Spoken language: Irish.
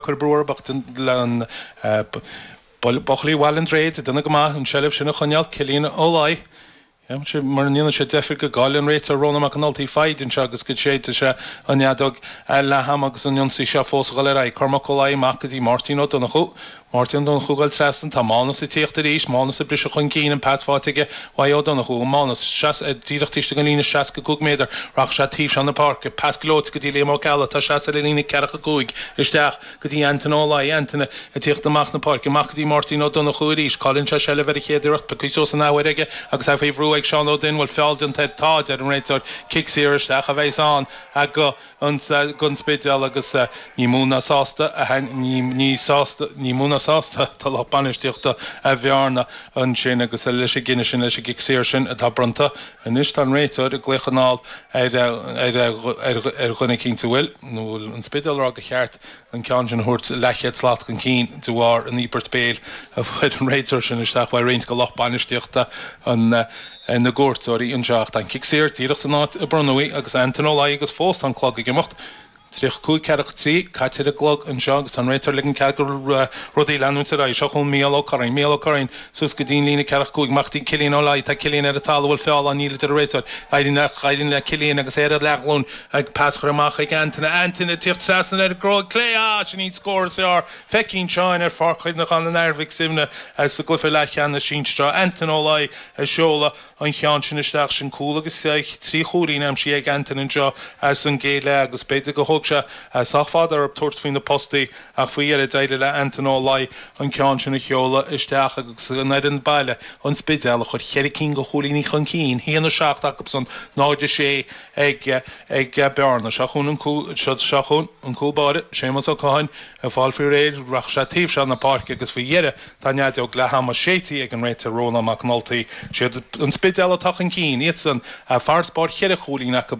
Cur brú orthu ach buachaillí Bhaile an Droichid ag déanamh go maith an tseilbh sin a choinneáil. Cillian Ó Laoi, mura ndéanann sé deifir go gcailleann an réiteoir Rónán Mac an Ultaigh foighid anseo agus go séidfidh sé an fheadóg leath ama agus an ionsaí seo fós a dhul ar aghaidh. Cormac Ó Laoi amach go dtí Máirtín Ó Donnchú. Máirtín Ó Donnchú ag dul trasna. Tá Mánas ag tíocht arís. Mánas ag briseadh chun cinn. An pas faighte aige uaidh Ó Donnchú. Mánas, díreach taobh istigh den líne 65 méadar. Rachaidh sé taobh seo na páirce. Pas gleoite go dtí Liam Ó Ceallaigh atá ag seasamh ar an líne 45 isteach go dtí Antaine Ó Laoi. Antaine ag tíocht amach na páirce. Amach go dtí Máirtín Ó Donnchú arís. Cailleann sé seilbh ar an chéad iarracht. Pioctha suas an athuair aige agus é faoi bhrú ag Seán Ó Duinn. Bhfuil feall déanta air? Tá, deir an réiteoir. Cic saor isteach a bheas ann go an Spidéal agus ní mó ná sásta ní sásta ní mó ná sásta atá lucht bainistíochta Bhearna ansin agus leis an gcinneadh sin leis an gcic saor sin atá bronnta. Anois tá an réiteoir ag glaoch anall ar ar dhuine eicínt an bhfuil nó bhfuil an Spidéal ag rá gur cheart an ceann sin a thabhairt leathchéad slat chun cinn de bharr an íobairt béil a fuair an réiteoir sin isteach uaidh roinnt de lucht bainistíochta na gcuairteoirí anseo. Ach tá an cic saor díreach san áit a bronnadh í agus Antaine Ó Laoi agus fós tá an clog ag imeacht. 35 43 caite ar an gclog anseo agus tá an réiteoir ag ligean cead do rudaí leanúint ar aghaidh. Seo chugainn Mícheál Ó Curraoin. Mícheál Ó Curraoin suas go dtí an líne 45 amach go dtí Cillian Ó Laoi. Tá Cillian ar an talamh bhfuil feall ann níl a deir an réiteoir. Éiríonn le Cillian agus é ar a leathghlúin ag pas a chur amach chuig Antaine. Antaine ag tíocht trasna ar an gcró clé. Ah! Sin í an scór is fearr feicthe anseo ar Pháirc Chuimhneacháin an Athar Mhic Suibhne sa gcluiche leathcheannais sinsir seo. Antaine Ó Laoi ag seoladh an cheann sin isteach. Sin cúl agus 3 chúilín aimsithe ag Antaine anseo as an gcéad leath agus b'fhéidir gur thóg sé sách fada orthu tabhairt faoi na postaí ach faoi dheireadh d'éirigh le Antaine Ó Laoi an ceann sin a sheoladh isteach agus an fhoireann baile, An Spidéal, a chuir cheithre cinn de chúilíní chun cinn, 1-7 acusan, 0-6 ag ag Bearna. Seo chugainn an cúl seo chugainn an cúl báire, Séamus Ó Catháin, ag fáil faoi réir, rachaidh sé taobh seo na páirce agus faoi dheireadh tá an fheadóg leath ama séidte ag an réiteoir Rónán Mac an Ultaigh. Siad an Spidéal atá chun cinn, iadsan farasbarr cheithre chúilín acu.